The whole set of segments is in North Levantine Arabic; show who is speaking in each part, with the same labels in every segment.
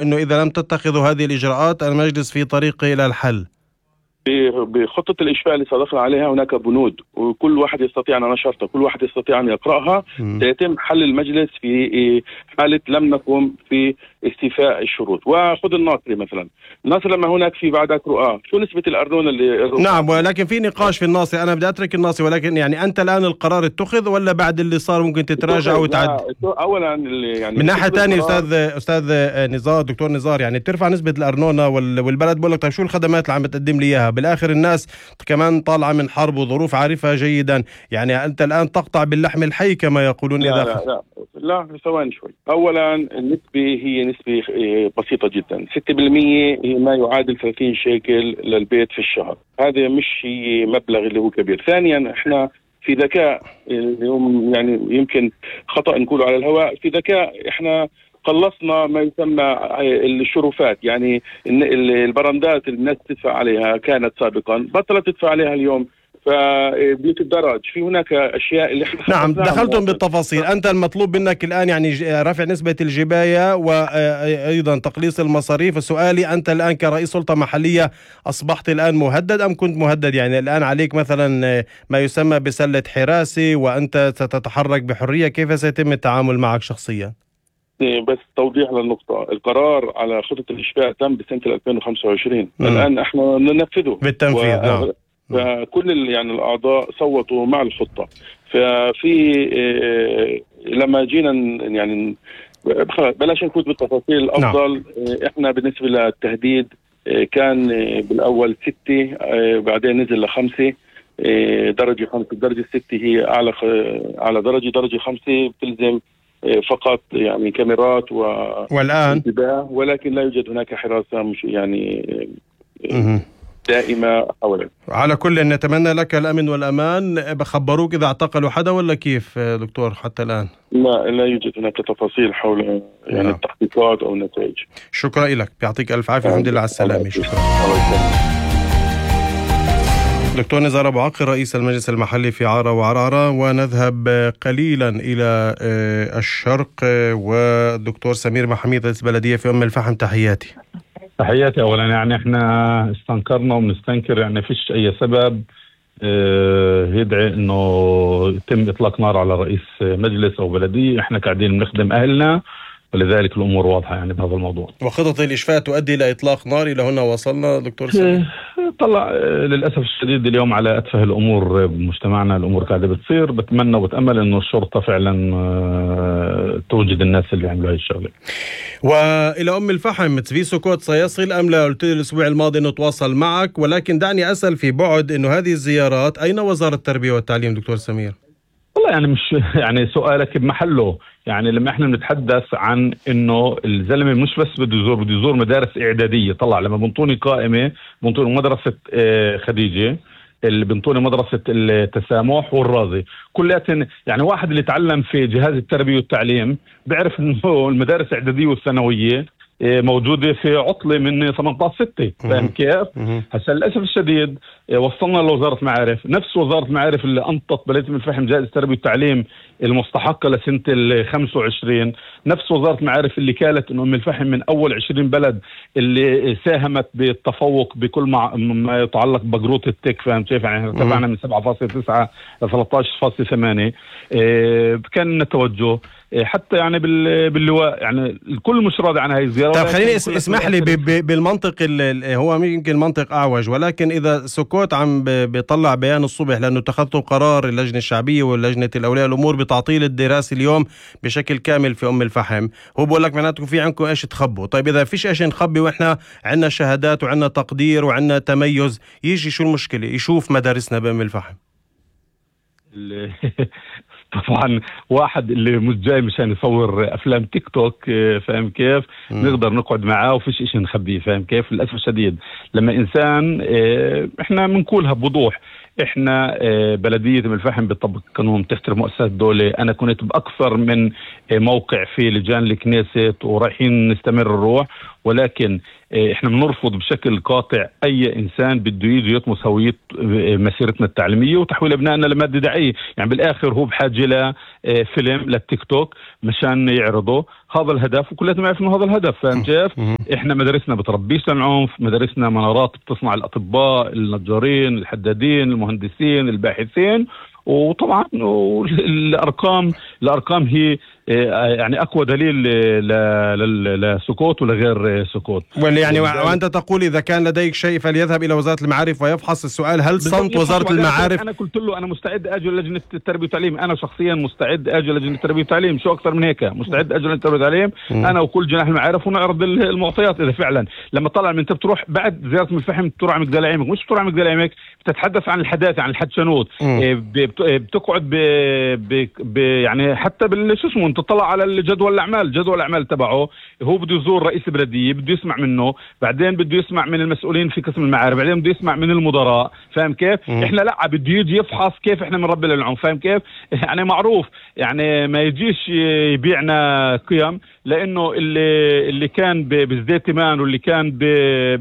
Speaker 1: أنه إذا لم تتخذوا هذه الإجراءات المجلس في طريقه إلى الحل.
Speaker 2: بخطة الإشفاء اللي صادقنا عليها هناك بنود، وكل واحد يستطيع أن نشرتها، كل واحد يستطيع أن يقرأها. سيتم حل المجلس في حالة لم نقم في استيفاء الشروط. وخذ الناصري مثلا، الناصري لما هناك في بعدك رؤى، شو نسبة الأرنون اللي
Speaker 1: نعم، ولكن في نقاش في الناصري. أنا بدي أترك الناصري، ولكن يعني أنت الآن القرار اتخذ ولا بعد اللي صار ممكن تتراجع وتعد؟
Speaker 2: أولا يعني
Speaker 1: من ناحية ثانية أستاذ نزار، دكتور نزار، يعني بترفع نسبة الأرنونة والبلد بقول لك طيب شو الخدمات اللي عم بتقدم لي إياها؟ بالآخر الناس كمان طالعة من حرب وظروف عارفها جيدا، يعني أنت الآن تقطع باللحم الحي كما يقولون.
Speaker 2: لا ثواني شوي. أولا النسبة هي نسبة بسيطة جدا، 6% هي ما يعادل 30 شيكل للبيت في الشهر. هذا مش هي مبلغ اللي هو كبير. ثانيا احنا في ذكاء، اليوم يعني يمكن خطأ نقوله على الهواء، في ذكاء احنا خلصنا ما يسمى الشرفات، يعني البرندات اللي الناس تدفع عليها كانت سابقا بطلت تدفع عليها اليوم، فبيوت الدرج في هناك اشياء اللي احنا
Speaker 1: نعم دخلتم بالتفاصيل. انت المطلوب منك الان يعني رفع نسبة الجباية وايضا تقليص المصاريف. سؤالي انت الان كرئيس سلطة محلية اصبحت الان مهدد ام كنت مهدد؟ يعني الان عليك مثلا ما يسمى بسلة حراسة وانت ستتحرك بحرية، كيف سيتم التعامل معك شخصيا؟
Speaker 2: بس توضيح للنقطة، القرار على خطة الإشفاء تم بسنة 2025. الآن احنا ننفذه
Speaker 1: بالتنفيذ. نعم.
Speaker 2: فكل يعني الأعضاء صوتوا مع الخطة. ففي لما جينا يعني بلاش نفوت بالتفاصيل الأفضل. نعم. احنا بالنسبة للتهديد كان بالأول 6، بعدين نزل ل5 درجة 5. الدرجة 6 هي أعلى درجة 5 بتلزم فقط يعني كاميرات
Speaker 1: والآن
Speaker 2: ولكن لا يوجد هناك حراسة مش يعني دائمة حولك.
Speaker 1: على كل نتمنى لك الأمن والأمان. بخبروك إذا اعتقلوا حدا ولا كيف دكتور حتى الآن؟
Speaker 2: لا يوجد هناك تفاصيل حول يعني التحقيقات أو النتائج.
Speaker 1: شكرا لك، يعطيك ألف عافية. الحمد لله على السلامة. شكرا. دكتور نزار أبو عقل رئيس المجلس المحلي في عارة وعرعرة. ونذهب قليلا إلى الشرق والدكتور سمير محميد رئيس البلدية في أم الفحم. تحياتي.
Speaker 3: أولا يعني احنا استنكرنا وبنستنكر، يعني فيش أي سبب يدعي إنه يتم إطلاق نار على رئيس مجلس أو بلدية. احنا قاعدين بنخدم أهلنا، ولذلك الأمور واضحة يعني بهذا الموضوع.
Speaker 1: وخطط الإشفاء تؤدي إلى إطلاق نار، إلى هنا وصلنا دكتور سمير؟
Speaker 3: طلع للأسف الشديد اليوم على أتفه الأمور بمجتمعنا، الأمور قاعدة بتصير. بتمنى وبتأمل إنه الشرطة فعلا توجد الناس اللي عملوا هاي الشغلة.
Speaker 1: وإلى أم الفحم، في سكوت سيصل أم لا؟ قلت لي الأسبوع الماضي إنه تواصل معك، ولكن دعني أسأل في بعد إنه هذه الزيارات أين وزارة التربية والتعليم دكتور سمير؟
Speaker 3: والله يعني مش يعني سؤالك بمحله. يعني لما احنا بنتحدث عن انه الزلمه مش بس بده يزور مدارس اعداديه. طلع لما بنطوني قائمه، بنطوني مدرسه خديجه، اللي بنطوني مدرسه التسامح والرازي، كلياتن يعني واحد اللي تعلم في جهاز التربيه والتعليم بيعرف انه المدارس الاعداديه والثانويه موجودة في عطلة من 18/6. فاهم كيف؟ هسا للأسف الشديد وصلنا لوزارة معارف، نفس وزارة معارف اللي أنطت بلدية أم الفحم جائزة التربية والتعليم المستحقة لسنة 25، نفس وزارة معارف اللي قالت إنه أم الفحم من أول 20 بلد اللي ساهمت بالتفوق بكل ما يتعلق بقروط التك. فاهم كيف؟ يعني ارتفعنا من 7.9 ل 13.8. كان التوجه حتى يعني باللواء، يعني الكل مش راضي عن هاي الزيارة.
Speaker 1: طيب خليني اسمح لي بالمنطق هو يمكن منطق أعوج، ولكن إذا سكوت عم بيطلع بيان الصبح لأنه اتخذتوا قرار اللجنة الشعبية واللجنة الأولياء الأمور بتعطيل الدراسة اليوم بشكل كامل في أم الفحم، هو بقول لك معناته في عندكم إيش تخبوا. طيب إذا فيش إيش نخبي وإحنا عندنا شهادات وعندنا تقدير وعندنا تميز، يجي شو المشكلة يشوف مدارسنا بأم الفحم؟
Speaker 3: طبعا واحد اللي مش جاي مشان يصور افلام تيك توك، فاهم كيف؟ نقدر نقعد معاه وفيش اشي نخبيه. فاهم كيف؟ للاسف الشديد لما انسان احنا بنقولها بوضوح، احنا بلدية أم الفحم بتطبق قانون، تحترم مؤسسات الدولة. انا كنت باكثر من موقع في لجان الكنيست ورايحين نستمر الروح، ولكن احنا بنرفض بشكل قاطع اي انسان بده يجي يطمس هوية مسيرتنا التعليمية وتحويل ابنائنا لمادة دعائية. يعني بالاخر هو بحاجة فيلم للتيك توك مشان يعرضوا هذا الهدف، وكلنا نعرف انه هذا الهدف. فاهم كيف؟ احنا مدارسنا بتربيش للعنف، مدارسنا منارات بتصنع الاطباء، النجارين، الحدادين، المهندسين، الباحثين. وطبعا الارقام هي يعني اقوى دليل لسكوت ولغير سكوت.
Speaker 1: يعني وانت تقول اذا كان لديك شيء فليذهب الى وزارة المعارف ويفحص. السؤال هل صمت وزارة المعارف؟
Speaker 3: انا قلت له انا مستعد اجي لجنة التربية والتعليم، انا شخصيا مستعد اجي لجنة التربية والتعليم، شو اكثر من هيك مستعد اجي لجنة التربية والتعليم انا وكل جناح المعارف ونعرض المعطيات. اذا فعلا لما طلع من انت بتروح بعد زيارة الفحم تروح على مجدل عيمك، مش بتروح على مجدل عيمك بتتحدث عن الحداثة، عن الحدشنود، بتقعد يعني حتى شو اسمه تطلع على جدول الاعمال تبعه. هو بده يزور رئيس البلديه، بده يسمع منه، بعدين بده يسمع من المسؤولين في قسم المعارف، بعدين بده يسمع من المدراء. فاهم كيف؟ احنا لا بده يجي يفحص كيف احنا بنربي للعنف. فاهم كيف؟ يعني معروف يعني ما يجيش يبيعنا قيم، لانه اللي كان بزداد تمان واللي كان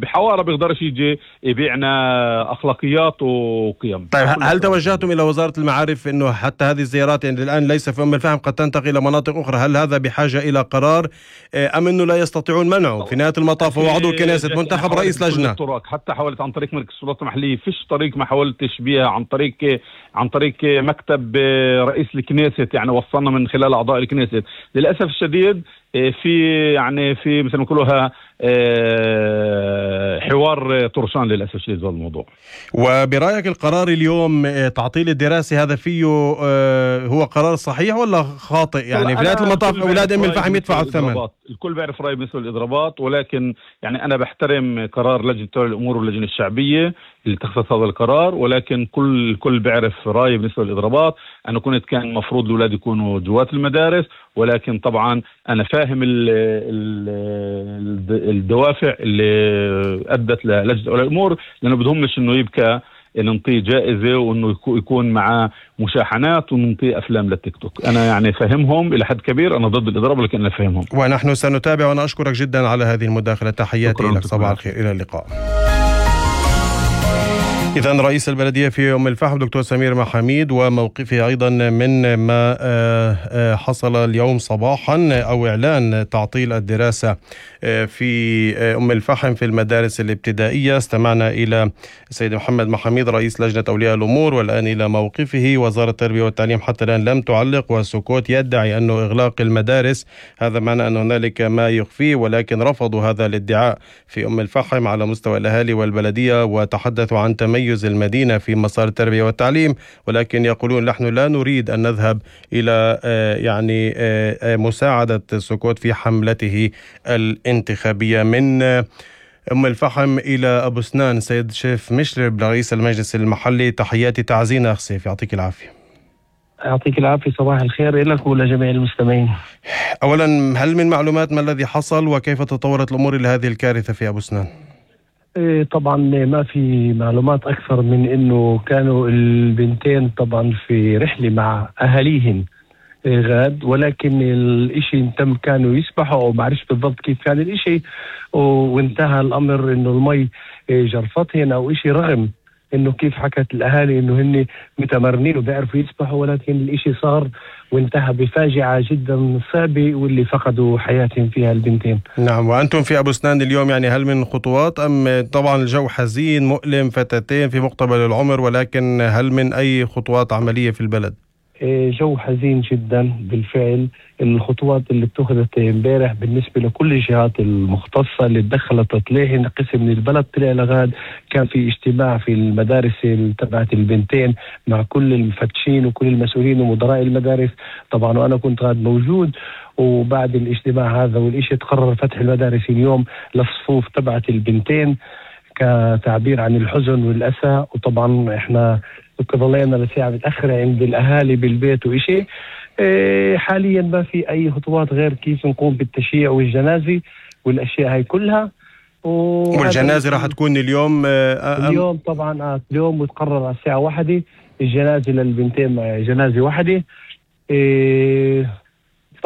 Speaker 3: بحواره بيقدرش يجي يبيعنا اخلاقيات وقيم.
Speaker 1: طيب هل توجهتم الى وزارة المعارف انه حتى هذه الزيارات يعني الان ليس في الفحم قد تنتقل الى مناطق اخرى، هل هذا بحاجة الى قرار ام انه لا يستطيعون منعه؟ في نهاية المطاف هو عضو كنيسة منتخب رئيس لجنة.
Speaker 3: حتى حاولت عن طريق مركز السلطات المحلية، فيش طريق ما حاولتش بيها عن طريق مكتب رئيس الكنيسة، يعني وصلنا من خلال اعضاء الكنيسة. للاسف الشديد في مثل ما نقولها حوار طرشان للأسف الشديد هذا الموضوع.
Speaker 1: وبرأيك القرار اليوم تعطيل الدراسة هذا فيه هو قرار صحيح ولا خاطئ؟ يعني في نهاية المطاف أولاد الفحم يدفعوا الثمن.
Speaker 3: الكل بيعرف رأي بالنسبة للإضرابات، ولكن يعني أنا بحترم قرار لجنة تولي الأمور واللجنة الشعبية اللي اتخذت هذا القرار، ولكن الكل بيعرف رأي بالنسبة للإضرابات. أنا كان المفروض الأولاد يكونوا جوات المدارس، ولكن طبعا أنا فاهم الدوافع اللي أدت للجنة تولي الأمور، لأنه بدهمش إنه يبكى ننطيه جائزة وإنه يكون معاه مشاحنات وننطيه أفلام للتيك توك. أنا يعني فهمهم إلى حد كبير، أنا ضد الإضراب لكن أنا فهمهم.
Speaker 1: ونحن سنتابع، وأنا أشكرك جدا على هذه المداخلة. تحياتي لك، صباح الخير، إلى اللقاء. إذن رئيس البلدية في أم الفحم دكتور سمير محاميد، وموقفه أيضا من ما حصل اليوم صباحا أو إعلان تعطيل الدراسة في أم الفحم في المدارس الابتدائية. استمعنا إلى السيد محمد محاميد رئيس لجنة أولياء الأمور، والآن إلى موقفه. وزارة التربية والتعليم حتى الآن لم تعلق، والسكوت يدعي أنه إغلاق المدارس هذا معنى أن هنالك ما يخفيه، ولكن رفضوا هذا الادعاء في أم الفحم على مستوى الأهالي والبلدية، وتحدثوا عن تميز المدينة في مسار التربية والتعليم، ولكن يقولون نحن لا نريد أن نذهب إلى يعني مساعدة سكوت في حملته الانتخابية. من أم الفحم إلى أبو سنان، سيد شيف مشرب رئيس المجلس المحلي، تحياتي تعزينا أخ سيف، يعطيك العافية.
Speaker 4: يعطيك العافية، صباح الخير لك ولجميع المستمعين.
Speaker 1: أولا، هل من معلومات ما الذي حصل وكيف تطورت الأمور إلى هذه الكارثة في أبو سنان؟
Speaker 4: طبعا ما في معلومات أكثر من أنه كانوا البنتين طبعا في رحلة مع أهاليهن غاد، ولكن الإشي تم كانوا يسبحوا أو معرفش بالضبط كيف كان الإشي، وانتهى الأمر أنه المي جرفتهن أو إشي، رغم انه كيف حكت الاهالي انه هن متمرنين وبيعرفوا يسبحوا، ولكن الاشي صار وانتهى بفاجعة جدا صعبة واللي فقدوا حياتهم فيها البنتين.
Speaker 1: نعم. وأنتم في أبو سنان اليوم يعني هل من خطوات أم طبعا الجو حزين مؤلم، فتاتين في مقتبل العمر، ولكن هل من أي خطوات عملية في البلد؟
Speaker 4: جو حزين جدا بالفعل. الخطوات اللي اتخذت امبارح بالنسبة لكل الجهات المختصة اللي تدخلت تطليع قسم من البلد طلع لغاد، كان في اجتماع في المدارس تبعت البنتين مع كل المفتشين وكل المسؤولين ومدراء المدارس طبعا، وأنا كنت غاد موجود. وبعد الاجتماع هذا والإشي تقرر فتح المدارس اليوم للصفوف تبعت البنتين كتعبير عن الحزن والأسى. وطبعا احنا ظلينا لساعة متأخرة عند الأهالي بالبيت وإشي. حاليا ما في أي خطوات غير كيف نقوم بالتشييع والجنازة والأشياء هاي كلها.
Speaker 1: والجنازة راح تكون اليوم
Speaker 4: اليوم طبعا اليوم، وتقرر على الساعة 1 الجنازة للبنتين، جنازة 1.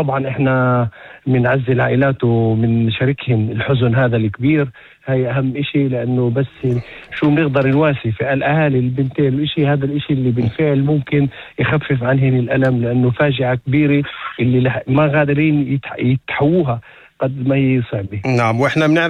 Speaker 4: طبعا احنا من عز العائلات ومن شاركهم الحزن هذا الكبير. هاي اهم اشي، لانه بس شو بنقدر نواسي في الاهالي البنتين الاشي هذا، الاشي اللي بالفعل ممكن يخفف عنهن الالم، لانه فاجعة كبيرة اللي ما قادرين يتحووها قد ما هي صعبة.
Speaker 1: نعم، واحنا